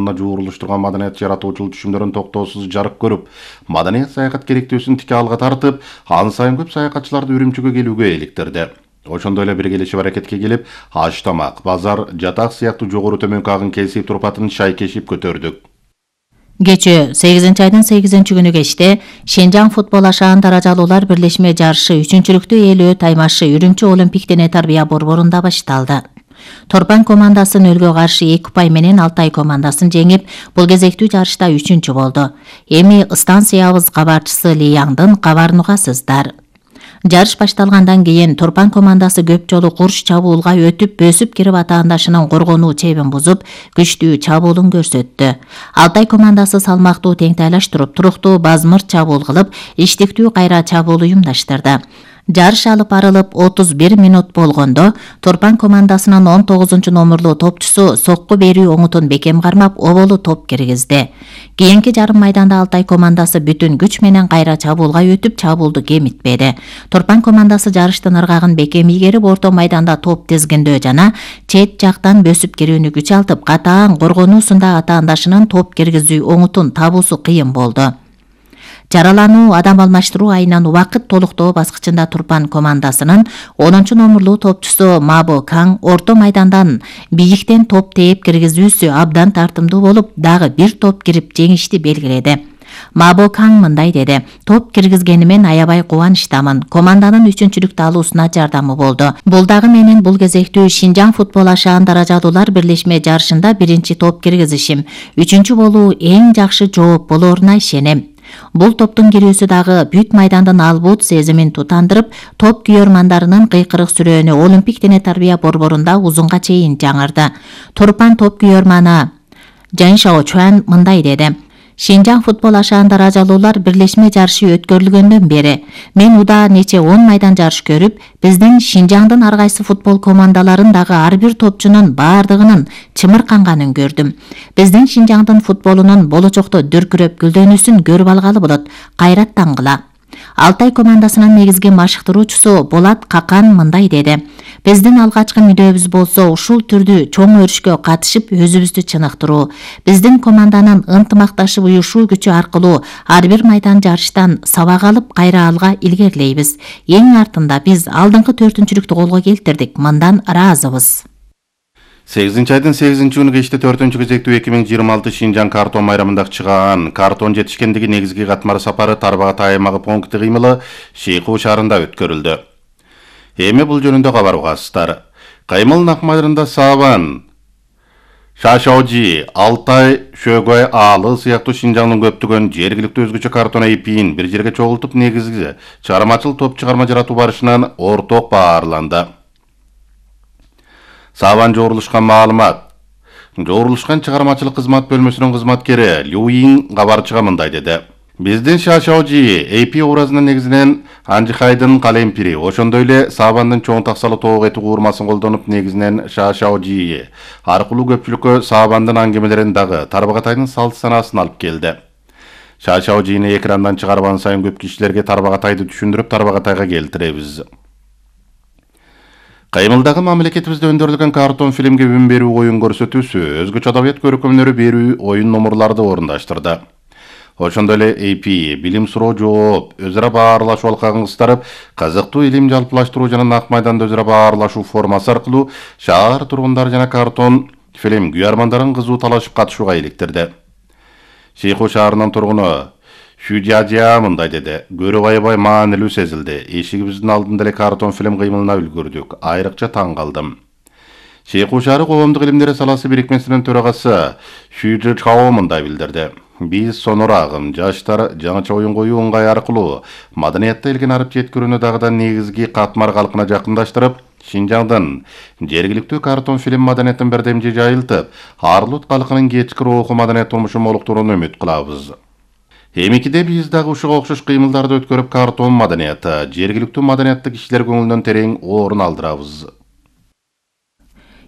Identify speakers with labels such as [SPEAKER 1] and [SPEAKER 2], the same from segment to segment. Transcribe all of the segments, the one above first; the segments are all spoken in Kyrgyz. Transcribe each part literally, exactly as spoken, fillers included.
[SPEAKER 1] жолуна жуурулуштурган маданият жаратуучулук түшүмдөрүн токтоосуз жарык көрүп, маданият саякат керектөөсүн тике алга тартып, ан сайын көп саякатчыларды Үрүмчүгө келүүгө иликтирди. Ошондой эле биргелешип аракетке келип, аш тамак, базар, жатак сыяктуу жогору төмөнкү агын кесип турпатын шайкешип көтөрдүк.
[SPEAKER 2] Кечээ сегизинчи айдын сегизинчи күнү кечте Шенжаң футбол ашаан даражалуулар бирлешме жарышы үчүнчүлүктү ээлөө таймашы Үрүмчү Олимпик дене тарбия борборунда башталды. Торпан командасы нөлгө каршы эки упай менен Алтай командасын жеңип, бул кезектүү жарышта үчүнчү болду. Эми станциябыз кабарчысы Ли Яңдын кабарын угасыздар. Жарыш башталгандан кийин Торпан командасы көп жолу курч чабуулга өтүп, бөсүп кирип атаандашынын коргонуу чебин бузуп, күчтүү чабуулун көрсөттү. Алтай командасы салмактуу теңтайлаштырып, туруктуу базмыр чабуул кылып, иштиктүү кайра чабуул уюмдаштырды. Жарыш алып барылып отуз бир мүнөт болгондо Торпан командасынын он тогузунчу номерлуу топчусу сокку берүү оңутун бекем кармап, оболу топ киргизди. Кийинки жарым майданда Алтай командасы бүтүн күч менен кайра чабуулга өтүп, чабуулду кемитпеди. Торпан командасы жарыштын ыргагын бекем ийгерип, орто майданда топ тизгиндөө жана чет жактан бөсүп кирүүнү күч алтып, катаан коргонуусунда атаандашынын топ киргизүү оңутун табуусу кыйын болду. Жаралануу адам алмаштыруу айынан убакыт толуктоо баскычында Турпан командасынын онунчу номерлуу топчусу Мабо Каң орто майдандан бийиктен топ тээп киргизүүсү абдан тартымдуу болуп, дагы бир топ кирип жеңишти белгиледи. Мабо Каң мындай деди: "Топ киргизгенимен аябай кубанычтамын. Команданын үчүнчүлүктү алуусуна жардамы болду. Бул дагы менин бул кезектүү Шенжаң футбол ашаан даражалуулар бирлешме жарышында биринчи топ киргизишим. Үчүнчү болуу эң жакшы жооп болоруна ишенем." Бул топтун кирүүсү дагы бүт майдандын албут сезимин тутандырып, топ күйөрмандарынын кыйкырык сүрөөнү Олимпик дене тарбия борборунда узунга чейин жаңырды. Турпан топ күйөрманы Жан Шао Чуан мындай деди: "Шенжаң футбол ашаан даражалуулар бирлешме жарышы өткөрүлгөндөн бери мен удаа нече он майдан жарыш көрүп, биздин Шенжаңдын ар кайсы футбол командаларын дагы ар бир топчунун баардыгынын чымырканганын көрдүм. Биздин Шенжаңдын футболунун болочокто дүркүрөп гүлдөнүүсүн көрүп алгалы болот. Кайрат таңгыла." Алтай командасынын негизги машыктыруучусу Болат Какан мындай деди: "Биздин алгачкы мүдөөбүз болсо ушул түрдүү чоң өрүшкө катышып өзүбүздү чыныктыруу. Биздин команданын ынтымакташып уюшуу күчү аркылуу ар бир майдан жарыштан сабак алып, кайра алга илгерилейбиз. Эң артында биз алдыңкы төртүнчүлүктү колго келтирдик. Мындан ыраазыбыз."
[SPEAKER 1] сегизинчи айдын сегизинчи күнү кечте төртүнчү кезектүү эки миң жыйырма алты Шенжаң картон майрамындагы чыгаан картон жетишкендиги негизги катмар сапары Тарбагатай аймагы пункти кыймылы Шейху шаарында өткөрүлдү. Эми бул жөнүндө кабар угасыздар. Кыймыл акмайрында Сабан, Шашаожи, Алтай, Шөгөй аалы сыяктуу Шенжаңдын көптөгөн жергиликтүү өзгөчө картон эйпин бир жерге чогултуп, негизги чыгармачыл топ чыгарма жаратуу барышынан орток баарланды. Сабан жоорулушкан маалымат. Жоорулушкан чыгармачылык кызмат бөлмөсүнүн кызматкери Люин кабарчыга мындай деди: "Биздин Шашаожи эйпи образынын негизинен Анжихайдын калемпири, ошондой эле Сабандын чоң таксалуу тоок эти куурмасын колдонуп, негизинен Шашаожи аркылуу көпчүлүккө Сабандын аңгемелерин дагы Тарбагатайдын салт санаасын алып келди. Шашаожини экрандан чыгарбан сайын көп кишилерге Тарбагатайды түшүндүрүп, Тарбагатайга келтиребиз." Кыймылдагы мамлекетибизде өндүрүлгөн картон фильмге үн берүү оюн көрсөтүүсү, өзгөчө адабият көркөмдөрү берүү оюн номурларды орундаштырды. Ошондой эле эйпи билим суроо жооп, өз ара баарлашуу алкагын кыстарып, кызыктуу илим жалпылаштыруу жана нак майданда өз ара баарлашуу формасы аркылуу шаар тургундары жана картон фильм күйөрмандарын кызуу талашып катышууга иликтирди. Шейху шаарынын тургуну Шүдядя мындай деди: "Көрүп аябай маанилүү сезилди. Эшигибиздин алдында эле картон фильм кыймылына үлгүрдүк. Айрыкча таң калдым." Шейху шаары коомдук илимдер саласы бирикмесинин төрагасы Шүджи Чао мындай билдирди: "Биз сонор агым, жаштар жаңыча оюн коюу ыңгай аркылуу маданиятта элген арып жеткирүүнү дагыдан негизги катмар калкына жакындаштырып, Шенжаңдын жергиликтүү картон фильм маданиятын бердемжи жайылтып, Арлут калкынын кечки руху маданият турмушун молуктурууну үмүт кылабыз." Эмикиде биз дагы ушуга окшош кыймылдарды өткөрүп, картон маданияты, жергиликтүү маданиятты кишилер көңүлүнөн терең орун алдырабыз.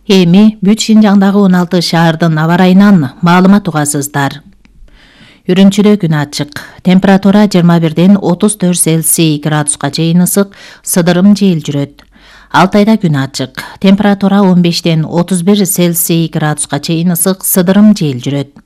[SPEAKER 2] Эми бүт Шенжаңдагы он алты шаардын аба ырайынан маалымат угасыздар. Үрүмчүдө күн ачык. Температура жыйырма бирден отуз төрт Цельсий градуска чейин ысык, сыдырым жел жүрөт. Алтайда күн ачык. Температура он бештен отуз бир Цельсий градуска чейин ысык, сыдырым жел жүрөт.